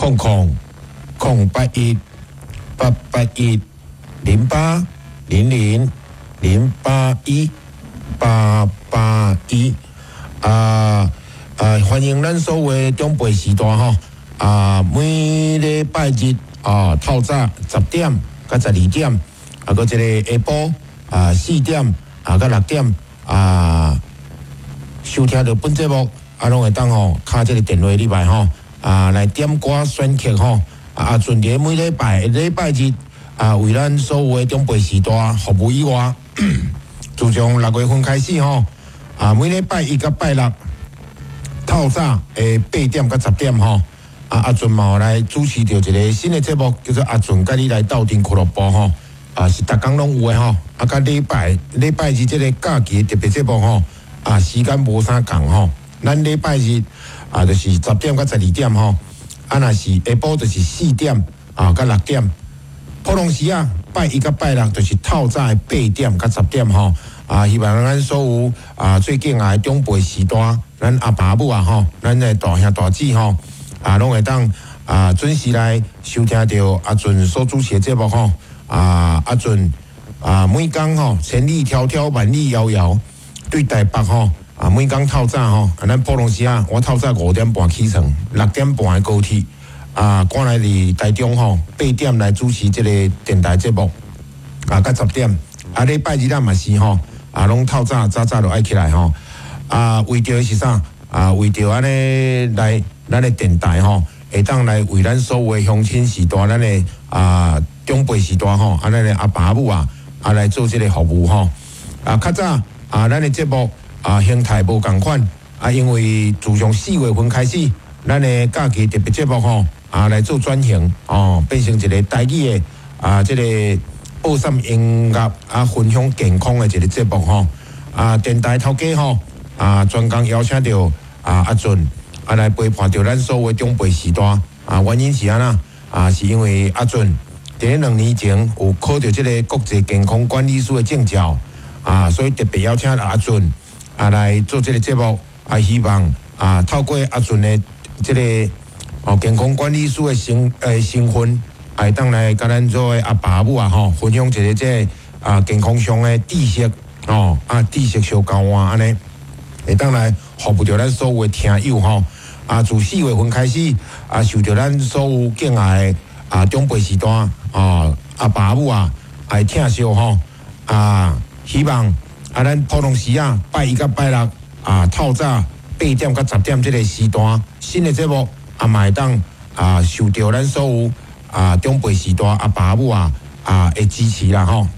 00-008-881-080-081-881。啊啊！歡迎咱所有的長輩序大吼啊！每禮拜日啊，透早10點到12點，啊，閣這个下晡啊4點啊到6點啊，收聽著本節目啊，攏會當吼敲這个電話入來吼啊，來點歌選曲吼啊，陣佇每禮拜禮拜日啊，為咱所有的長輩序大服務以外，自從6月份開始吼啊，每禮拜一佮拜六透早的8點到10點吼，啊阿俊嘛有來主持著一个新的節目，叫做阿俊佮你來鬥陣俱樂部吼，啊是逐工攏有的吼，啊佮禮拜禮拜日這个假期的特別節目吼，啊時間無啥仝吼，咱禮拜日啊就是10點到12點吼，啊若是下晡就是4點啊到6點，普通時啊拜一佮拜六就是透早的8點到10點吼。啊，希望咱所有啊最敬愛的長輩序大，咱阿爸母啊吼，咱的大兄大姊吼，啊，攏會當啊準時來收聽著阿俊所主持的節目吼，啊，阿俊啊每工吼千里迢迢萬里遙遙對台北吼啊每工透早吼，啊咱普通時啊，我透早5點半起床，6點半的高鐵啊，趕來佇台中吼8點來主持這个電台節目啊，到十點啊，禮拜日咱嘛是吼。啊，攏透早早早就愛起來吼！啊，為著是啥？啊，為著按呢來咱的電台吼，會當來為咱所有的鄉親序大，咱的啊長輩序大吼，啊，咱的阿爸阿母啊，啊來做這个服務吼。啊，較早啊，咱的節目啊形態無仝款啊，因為自從4月份開始，咱的假期特別節目吼啊來做轉型哦，變成一个台語的啊這个播送音樂啊，分享健康的一个節目吼，啊，電台頭家吼，啊，專工邀請著啊阿俊啊來陪伴著咱所有的長輩序大啊，原因是按怎？啊，是因為阿俊佇咧2年前有考著這个國際健康管理師的證照啊，所以特別邀請阿俊啊來做這个節目啊，希望啊透過阿俊的這个哦健康管理師的身份，會當來佮咱做的阿爸阿母啊吼，分享一个這个啊健康上的知識吼，啊知識相交換按呢，會當來服務著咱所有的聽友吼。啊，自4月份開始啊，受著咱所有敬愛的啊長輩序大啊阿爸阿母啊來疼惜吼。啊，希望啊咱普通時啊拜一佮拜六啊透早8點到10點這个時段新的節目啊嘛會當啊受著咱所有啊，長輩序大阿爸阿母啊啊的支持啦吼，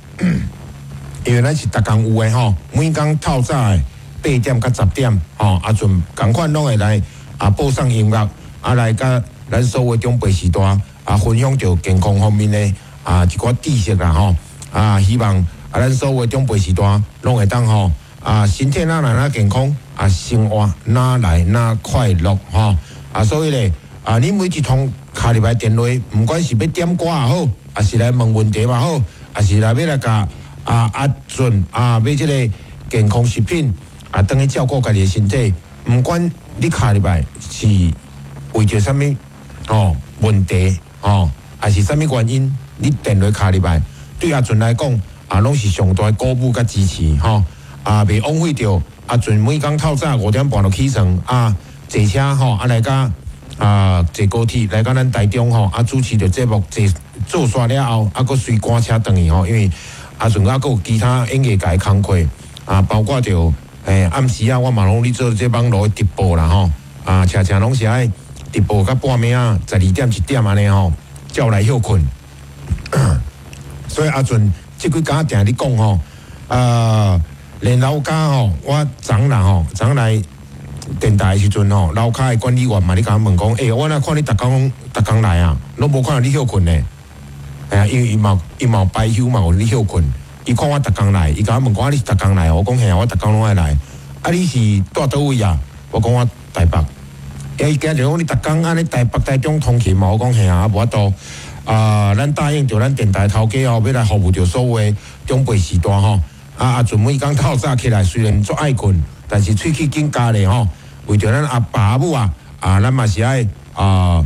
因為咱是逐工有的吼，每工透早的8點到10點吼，阿陣仝款攏會來啊播送音樂，啊來佮咱所有長輩序大啊分享著健康方面的啊一寡知識啦吼，啊希望啊咱所有長輩序大攏會當吼啊身體哪來哪健康啊生活哪來哪快樂吼，啊所以咧啊你每一通敲入來電話，毋管是欲點歌也好，抑是來問問題嘛好，抑是來欲來共啊阿俊啊買這个健康食品啊，轉去照顧家己的身體，毋管你敲入來是為著啥物哦問題哦，抑是啥物原因，你電話敲入來，對阿俊來講啊，攏是上大的鼓舞佮支持吼啊，袂枉費著阿俊每工透早5點半就起床啊，坐車吼啊來佮啊，坐高鐵來到咱台中吼，啊主持著節目，坐做煞了後，啊閣隨趕車轉去吼，因為阿陣猶閣有其他演藝界的工課啊，包括著暗時啊，我嘛攏咧做這網路的直播啦吼，啊，常常攏是愛直播到半暝啊，12點1點按呢吼，才有來歇睏。所以阿陣這幾工定咧講吼，啊，連樓跤吼，我昨昏吼，昨昏來電台的時陣吼，樓跤的管理員嘛，咧共我問講，欸，我若看你逐工逐工來啊，攏無看著你歇睏呢？哎呀，因為伊嘛有排休嘛有咧歇睏，伊看我逐工來，伊共我問講，啊，你是逐工來？我講嘿啊，我逐工攏愛來。啊，你是蹛佗位啊？我講我台北。欸，伊今日講你逐工按呢台北台中通勤嘛？我講嘿啊，無法度。啊，咱答應著咱電台頭家哦，欲來服務著所有的長輩序大吼。啊，阿陣每工透早起來，雖然足愛睏，但是喙齒緊咬咧吼。為著咱阿爸阿母啊，啊，咱嘛是愛啊，